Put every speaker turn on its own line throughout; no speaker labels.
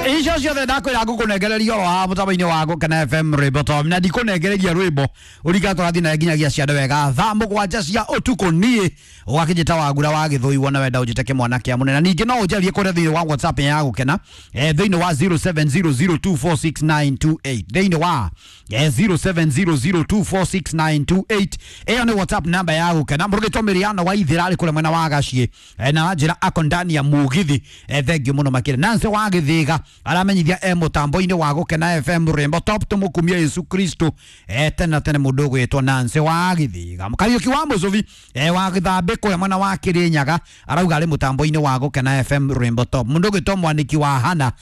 Icio ciothe ndakwĩra ngũkũnengereria oro haha mũtambo-inĩ wa Gũkena FM rwĩmbo to na ndikũnengereria rwĩmbo ũringa tũrathiĩ nawe nginyagia ciande wega thaa 7 cia ũtukũ. Niĩ ũgakĩnjĩta Wagura wa Gĩthũi, wona wenda ũnjĩte kĩmwana kĩa mũnene. Ningĩ no ũnjarie kũrĩa thĩinĩ wa WhatsApp ya Gũkena, thĩinĩ wa 0700246928, thĩinĩ wa 0700246928. Ĩyo nĩ WhatsApp namba ya Gũkena. Mũrũgĩtwo Mĩrĩano wa Ithĩra arĩ kũrĩa mwena wa Gaciĩ, na njĩra ako ndani ya mugithi. Thank you mũno makĩria. Nancy wa Gĩthĩga aramenyithia e mũtambo-inĩ wa Gũkena FM rwĩmbo top, tũmũkumia Yesu Kristo tene na tene. Mũndũ ũgwĩtwo Nancy wa Gĩthĩga. Kariũki wa Mũcũbi wa Gĩthambĩ kũrĩa mwena wa Kĩrĩnyaga arauga arĩ mũtambo-inĩ wa Gũkena FM rwĩmbo top. Mũndũ ũgwĩtwo Mwaniki wa Hana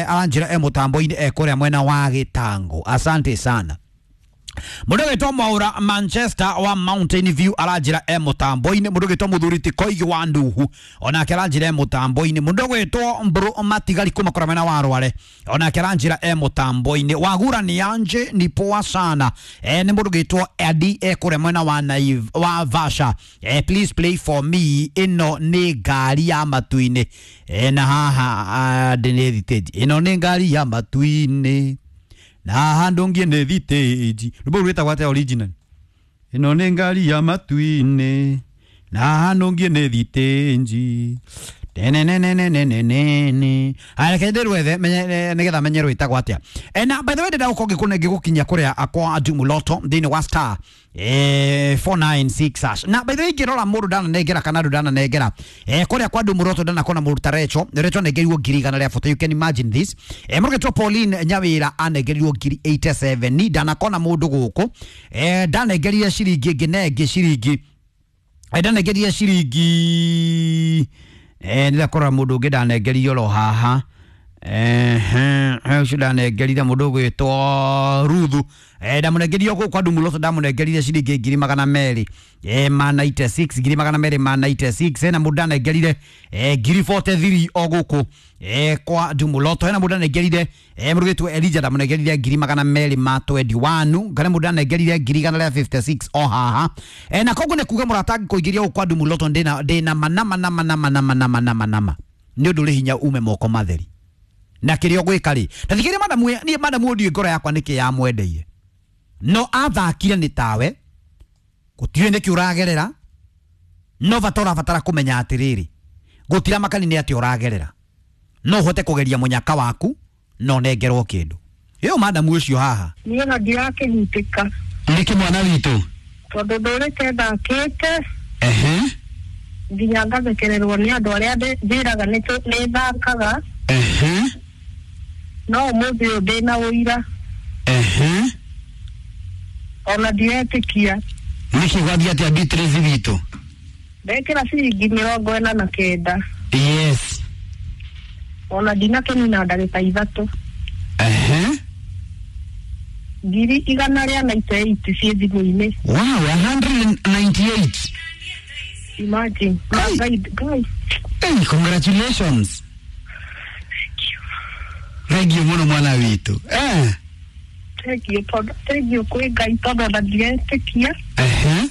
aranjĩra e mũtambo-inĩ e kũrĩa mwena wa Gĩtango. Asante sana. Mũndũ ũgwĩtwo Mwaura Manchester wa Mountain View aranjĩra e mũtambo-inĩ. Mũndũ ũgwĩtwo Mũthuri ti Koigi wa Nduhu onake aranjĩra e mũtambo-inĩ. Mũndũ ũgwĩtwo Mbũrũ Matigari kuma kũrĩa mwena wa Rware onake aranjĩra e mũtambo-inĩ. Wagura ni anje ni poa sana. Nĩ mũndũ ũgwĩtwo Edi e kũrĩa mwena wa Naiv, wa Vasha. Please play for me, ĩno nĩ ngari ya matu-inĩ. Na haha ndĩ nĩ thitĩnji, ĩno nĩ ngari ya matu-inĩ na haha ndũngie nĩ thitĩnji. Rwĩmbo rũu rwĩtagwo atĩa original? Ĩno nĩ ngari ya matu-inĩ na haha ndũngie nĩ thitĩnji tenenenenenenene. Aya, reke ndĩrwethe nĩgetha menye rwĩtagwo atĩa. Na by the way, ndĩrenda gũkorwo ngĩgũkinyia kũrĩa akwa Jumuloto thĩinĩ wa star 496 hash. Na by the way, ngĩrora mũndũ ndananengera kana andũ ndananengera kũrĩa kwa Ndumuloto, ndanakona mũndũ ta Recho. Recho anengerirwo 100,000 40. You can imagine this. Mũrũgĩtwo Pauline Nyawĩra anengerirwo 87,000. Ni ndanakona mũndũ gũkũ ndanengerire ciringi ĩngĩ na ĩngĩ ciringi, ndanengerire ciringi, nĩndakora mũndũ ũngĩ ndanengerire oro haha. Ũcio ndanengerire mũndũ ũgwĩtwo Ruthu, ndamũnengerire gũkũ kwa Ndumuloto, ndamũnengerire ciringi 296,000, 296,000. Hena mũndũ ndanengerire 43,000 o gũkũ kwa Ndumuloto. Hena mũndũ ndanengerire, mũrũgĩtwo Elijah, ndamũnengerire 221,000. Kana mũndũ ndanengerire 156,000 o haha. Na koguo nĩ kuga mũrata angĩkũingĩria gũkũ kwa Ndumuloto, ndĩna manama nama nama nama nama nama nama nĩ ũndũ ũrĩ hinya ume moko matheri na kĩrĩa ũgwĩka rĩ. Ta thikĩrĩria madamu, niĩ madamu ndiũĩ ngoro yakwa nĩkĩ yamwendeire, no athakire nĩ tawe gũtiũĩ nĩkĩ ũragerera, no bata ũrabatara kũmenya atĩrĩrĩ, gũtira makani nĩ atĩ ũragerera, no ũhote kũgeria mũnyaka waku no nengerwo kĩndũ ĩyo madamu ũcio haha.
Niĩ ona ndirakĩhutĩka.
Nĩkĩ mwana witũ?
Tondũ ndũrĩte ndakĩte
Ehe.
nginya ngathekererwo nĩ andũ arĩa njĩraga nĩ thakaga.
Ehe.
No ũmũthĩ ũyũ ndĩna ũira.
Ehe.
Ona ndiretĩkia.
Nĩkĩ gwathiĩ atĩa, Beatrice witũ?
Ndekĩra ciringi 49.
Yes.
Ona ndinakĩnina ndagĩka 3.
Ehe.
198,000 ciĩ thimũ-inĩ.
Wow, 198.
Imagine.
Ai.
Ngai, Ngai.
Hey, congratulations. Thank you mũno mwana witũ.
Thank you tondũ thank you kwĩ Ngai tondũ ona ndiretĩkia.
Ehe.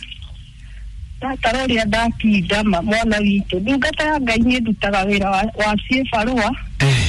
Ndatara ũrĩa ndatinda ma mwana witũ, ndungata ya Ngai, niĩ ndutaga wĩra wa ciĩbarũa.
Ehe.